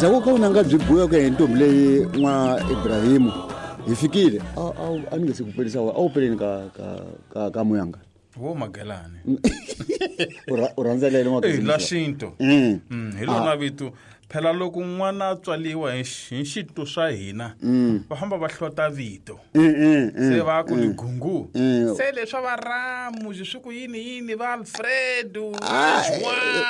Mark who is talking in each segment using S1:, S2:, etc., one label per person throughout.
S1: Endzhaku ka vunanga byi buya ku ya hi ntombi leyi n'wa Ibrahimu hi fikile a ni nge se ku pelisa a wu peleni ka muyanga.
S2: Wo magelani.
S1: U rhandza lelo n'wa
S2: Eh, la xinto. Hi lona vito. Phela loko n'wana a tswaliwa hi xinto swa hina, va famba va hlota vito. Se va ku ligungu. Se leswa va Ramu, swi ku yini yini va Alfredo,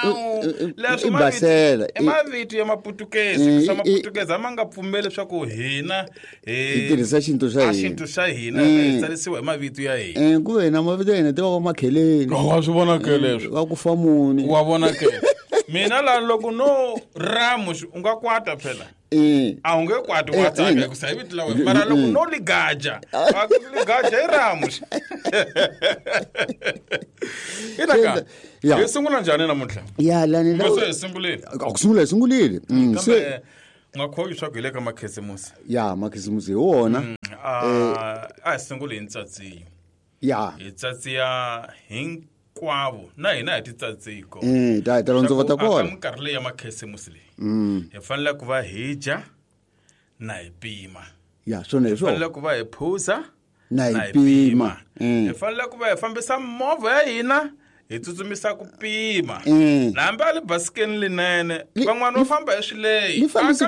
S2: João. Leswi
S1: basela.
S2: I mavito ya Maputukezi. Swa Maputukezi a ma nga pfumeli leswaku hina
S1: hi tirhisa xinto xa hina.
S2: Xinto xa hina hi tsarisiwa hi mavito ya hina.
S1: Ku hina mavito ya hina ti va va makheleni.
S2: Wa swi vona ke leswi?
S1: Va ku fa muni.
S2: Wa vona ke? Mina la loko no Ramu u nga kwata phela. A wu nge kwati wa tsaka hikusa hi vito la wena. Mara loko no ligaja, va ku ligaja i Ramu. Ina ka. Hi sungula njhani namuntlha?
S1: Ya lani
S2: la. Se hi sungulile.
S1: A ku sungula hi sungulile.
S2: Se nga khoyi swa ku hi le ka makhisimusi.
S1: Ya makhisimusi hi wona.
S2: A hi sunguli hi ntsatsiyo.
S1: Ya.
S2: Hi tsatsiya hinkwavo na hina hi titsatsiko.
S1: Ta ta londzova ta kona.
S2: Ka minkarhi leyi ya makhisimusi leyi. Hi fanele ku va hi dya na hi pima.
S1: Ya swona hi
S2: swona. Hi fanele ku va hi phuza
S1: na hi pima.
S2: Hi fanele ku va hi fambisa movha ya hina hi tsutsumisa ku pima. Hambi a le basikeni linene van'wana va famba hi swileyi.
S1: Li fambisi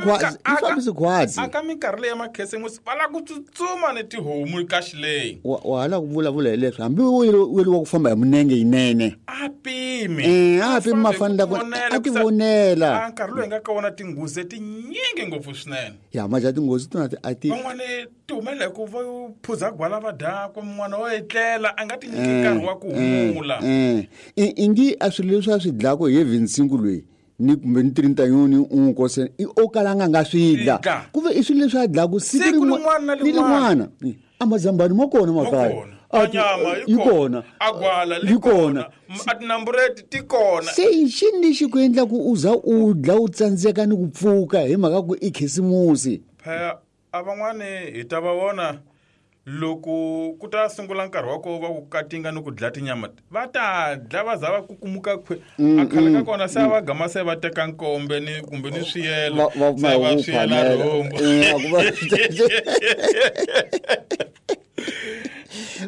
S1: khwatsi.
S2: Aka minkarhi leyi ya makhisimusi va lava ku tsutsuma ni tihomu ka xileyi.
S1: Wa hala ku vulavula hi leswi hambi u yeliwa ku famba hi munenge yinene.
S2: A pimi.
S1: A pimi mafanele ku a ti vonela.
S2: A nkarhi lowu hi nga ka wona tinghozi tinyingi ngopfu swinene.
S1: Ya maja tinghozi tona a ti.
S2: Van'wana ti humelela hi ku va phuza gwala va dakwa mun'wana wa etlela a nga ti nyiki nkarhi wa ku humula.
S1: Ingi a swilo leswi a swi dlako hi Vinsingu loyi ni kumbe ni Trintanyoni u kose i o kala nga nga swi dla. Ku ve i swilo leswi a dlaku siku
S2: rin'wana
S1: ni rin'wana. A mazambani ma kona makaya.
S2: A nyama
S1: yi kona.
S2: A gwala
S1: li kona.
S2: A tinambureti ti kona.
S1: Se i xini lexi ku endla ku u za u dla u tsandzeka ni ku pfuka hi mhaka ku i khisimusi?
S2: Phela a van'wani hi ta va vona loko ku ta sungula nkarhi wa ko va ku katinga ni ku dla tinyama va ta dla va za va kukumuka khwe a khale ka kona se va gama se va teka nkombe ni kumbe ni swiyelo se va swiyela rhumbu.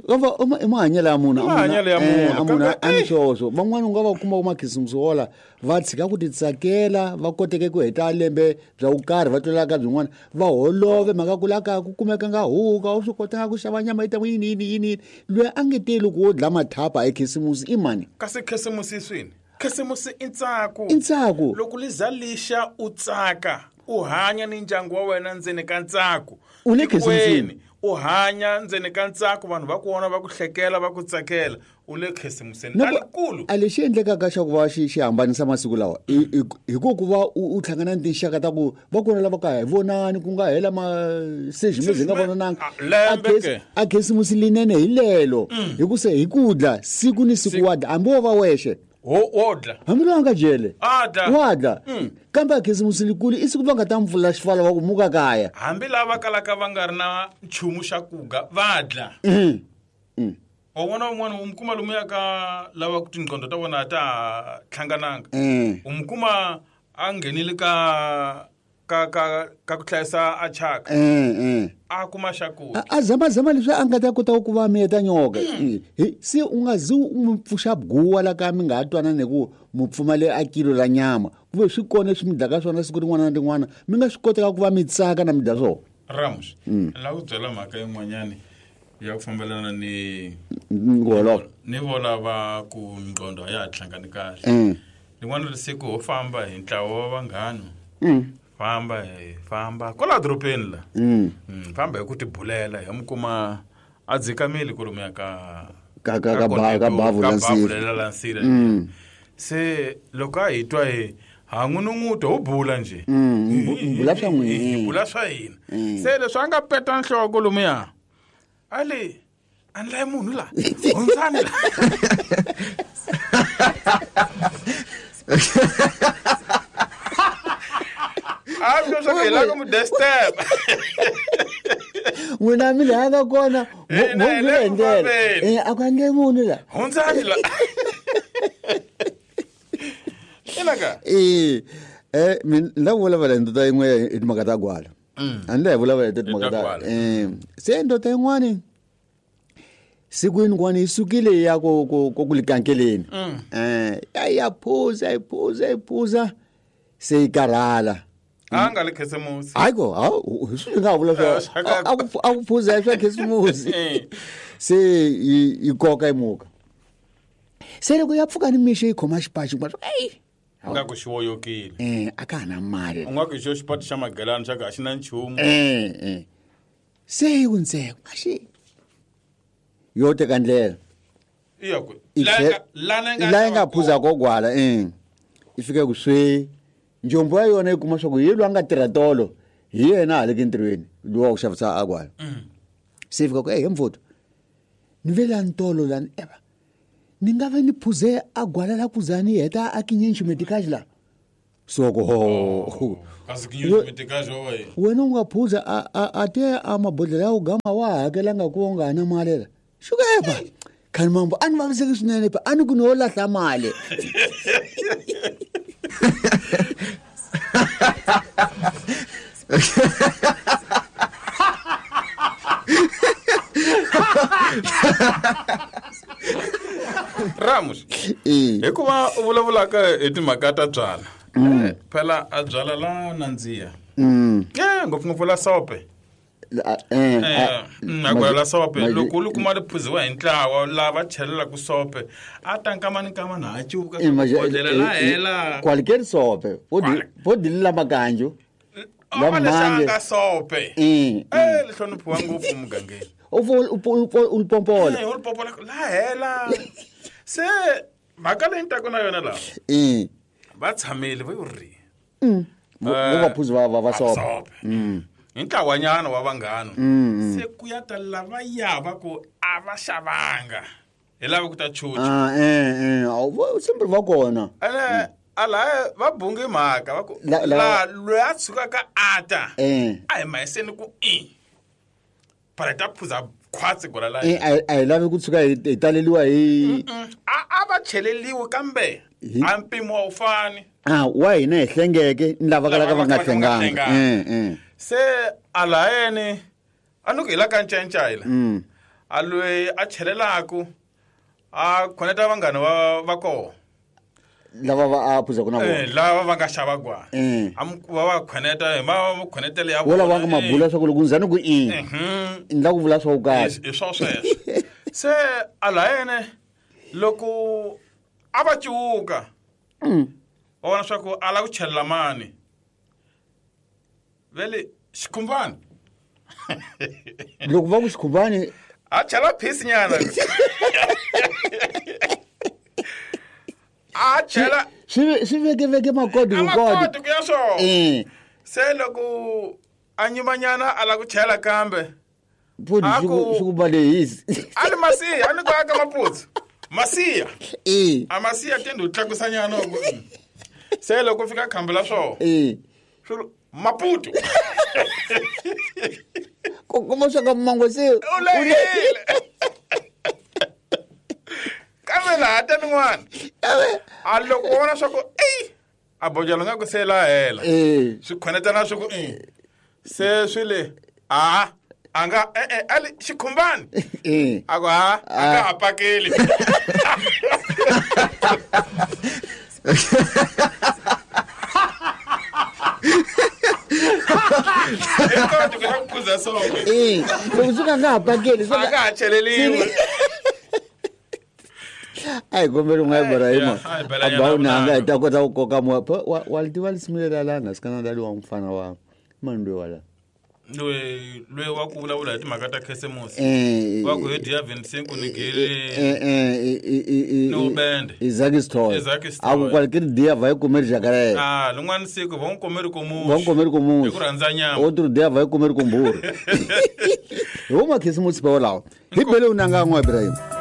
S1: Kamba i mahanyelo ya munhu.
S2: Mahanyelo ya munhu.
S1: A munhu a ni swoswo. Van'wana u nga va kuma makhisimusi wola va tshika ku titsakela va koteke ku heta lembe bya ku karhi va tlulela ka byin'wana va holove mhaka ku la kaya ku kumeka nga huka u swi kotanga ku xava nyama yi ta yini yini yini loyi a nge teli ku wo dla mathapa ekhisimusi i mani?
S2: Kasi khisimusi swini? Khisimusi i ntsako.
S1: I ntsako.
S2: Loko li za lixa u tsaka u hanya ni ndyangu wa wena ndzeni ka ntsako.
S1: U le khisimusini.
S2: U hanya ndzeni ka ntsako vanhu va ku vona va ku hlekela va ku tsakela. U le khisimuseni alikulu.
S1: A lexi endlekaka xa ku va xi hambanisa masiku lawa hi ku va u hlangana ni tinxaka ta ku va kona lava ka hi vonani ku nga hela masezimezi hi nga vonananga. A khisimusi linene hi lelo hi ku se hi ku dla siku ni siku wa dla hambi wo va wexe.
S2: Wo dla.
S1: Hambi loyi a nga jele.
S2: A dla.
S1: Wa dla. Kambe a khisimusi likulu i siku va nga ta mi pfulela xifala va ku muka kaya.
S2: Hambi lava kalaka va nga ri na nchumu xa kuga va dla. Wa vona un'wana u mi kuma lomuya ka lava ku tinqondo ta vona ta hlangananga. U mi kuma a nghenile ka ka ka ka ku hlayisa a chaka. A kuma xa ku.
S1: A zama zama leswi a nga ta kota ku va miyeta nyoka. Se u nga zi u mi pfuxa guwa la ka mi nga ha twanani ku mu pfumale a kilo la nyama. Ku ve swi kona leswi mi dlaka swona siku rin'wana na rin'wana mi nga swi koteka ku va mi tsaka na mi dya swona.
S2: Ramos, la ku byela mhaka yin'wanyani ya ku fambelana ni
S1: ngoloko
S2: ni vola va ku nqondo a ya ha hlangani kahle. Rin'wana ri siku ho famba hi ntlawa wa vanghana. Famba hi famba kwala dorobeni la. Famba hi ku tibulela hi mi kuma a dzikamile kwalomuya ka
S1: ka ka ka bavu
S2: la nsira. Se loko a hi twa hi ha n'unun'uta ho bula nje.
S1: Bula swa n'wina.
S2: Bula swa hina. Se leswi a nga peta nhloko lomuya. Ali a ni layi munhu la. Hundzani la. A swi swa ku hi lava ku mu disturb.
S1: N'wina mi laha nga kona
S2: Hina hi le
S1: hi ndlela.
S2: ku fambeni.
S1: A ku endle munhu la.
S2: Hundzani la. Ina ka?
S1: Min la vulavula hi ndoda yin'we hi timhaka ta gwala. A ni la hi vulavula hi timhaka ta se ndoda yin'wani siku yin'wana yi sukile ya ku ku ku likankeleni. Ya phuza yi phuza yi phuza se yi karhala.
S2: A nga le khisimusi.
S1: Hayi ko, hi swi nga vula swa a ku phuza swa khisimusi. Se yi koka yi muka. Se loko ya pfuka ni mixo yi khoma xipachi ku ei
S2: nga ku xi woyokile.
S1: A ka ha na mali.
S2: U nga ku xo xipati xa magelani xa ka a xi na nchumu.
S1: Se yi ku ntseko a xi yo teka ndlela.
S2: Iya ku
S1: la nga phuza ko gwala i fika ku swi njombo ya yona yi kuma swa ku hi loyi a nga tirha tolo hi yena a le entirhweni lowa ku xavisa a gwala. Se yi fika ku he mfuto ni ve la ntolo lani eva ni nga ve ni phuze a gwala la kuza ni heta a kinye nximedikaji la so ku ho wena u nga phuza a te a mabodhlela ya ku gama wa hakelanga ku u nga ha na mali la xukeva khani mambo a ni vaviseki swinene pa a ni ku ni wo lahla mali.
S2: Ramos hikuva u vulavulaka hi timhaka ta byala phela a byala la nandziha ngopfungopfu la sope a gwala la sope loko u kuma ri phuziwa hi ntlawa lava chelelaka sope a ta nkamani nkamani ha cuka bodlela la hela
S1: kwalikeri sope vo dilila makanjo
S2: la manje sope le hloniphiwa ngopfu mugangeni
S1: u lipompola
S2: u lipompola la hela se mhaka leyi ni taka na yona laha va tshamile va yo ri
S1: vo vaphuzi va sope
S2: hi ntlawanyana wa vanghana se ku ya ta lava ya va ku a va xavanga hi lava ku ta chucha
S1: sembri va kona
S2: ene ala va bunge mhaka va ku la loyi a tshukaka a ta a hi mahiseni ku i para ta phuza khwatsi gwala la
S1: a hi lavi ku tshuka hi taleliwa hi
S2: a va cheleliwi kambe a mpimo a wu fani
S1: wa hina hi hlengeke ni lava kalaka va nga hlenganga
S2: se alayeni a ni ku hi la ka ncencayila a loyi a chelelaku a khoneta vanghana va kona
S1: lava va a phuzaka na vona
S2: lava va nga xava gwala va va khoneta hi ma khonetele ya
S1: vona va nga mabula swa ku loko ndzani ku i ni la ku vula swa ku
S2: karhi hi swo sweswo se alayene loko a va cuka va vona swa ku a la ku chelela mani vele xikhumbani
S1: loko va ku xikhumbani
S2: a chela phisi nyana a chela
S1: swi vekeveke makoti
S2: makoti ku ya swona se loko a nyimanyana a la ku chela kambe
S1: pfuti swi ku balehisi
S2: a ni masiya a ni ku aka maputsu masiya a masiya tende u tlakusanyana se loko fika khambi la swona swi Maputo
S1: ku kuma swa ka mango se
S2: u lehile kambe laha ta nin'wana a loko u vona swa ku ei a bojelo nga ku se la hela swi khonetana swi ku se swi le a a nga e-e a li xikhumbani a ku ha a nga ha pakeli
S1: loko swi nga nga ha pakeli
S2: a nga ha cheleliwi
S1: a hi kombela u nga Ibrahima a ba u nanga hi ta kota ku koka moya wa li tiva lisimu leri la nga sikana lali wa mfana wa mani loyi wala
S2: loyi wa ku vulavula hi timhaka ta khisimusi wa ku hi dya 25 ni gele ni ubende
S1: Isaac Stoy a ku kwale ke dia vai comer jacaré
S2: ah lin'wana siku va n'wi komeri komuxi
S1: va n'wi komeri komuxi
S2: hi ku rhandza nyama
S1: outro dia vai comer komburu hi wo makhisimusi pa wolawo hi bele u nanga n'wa Ibrahima.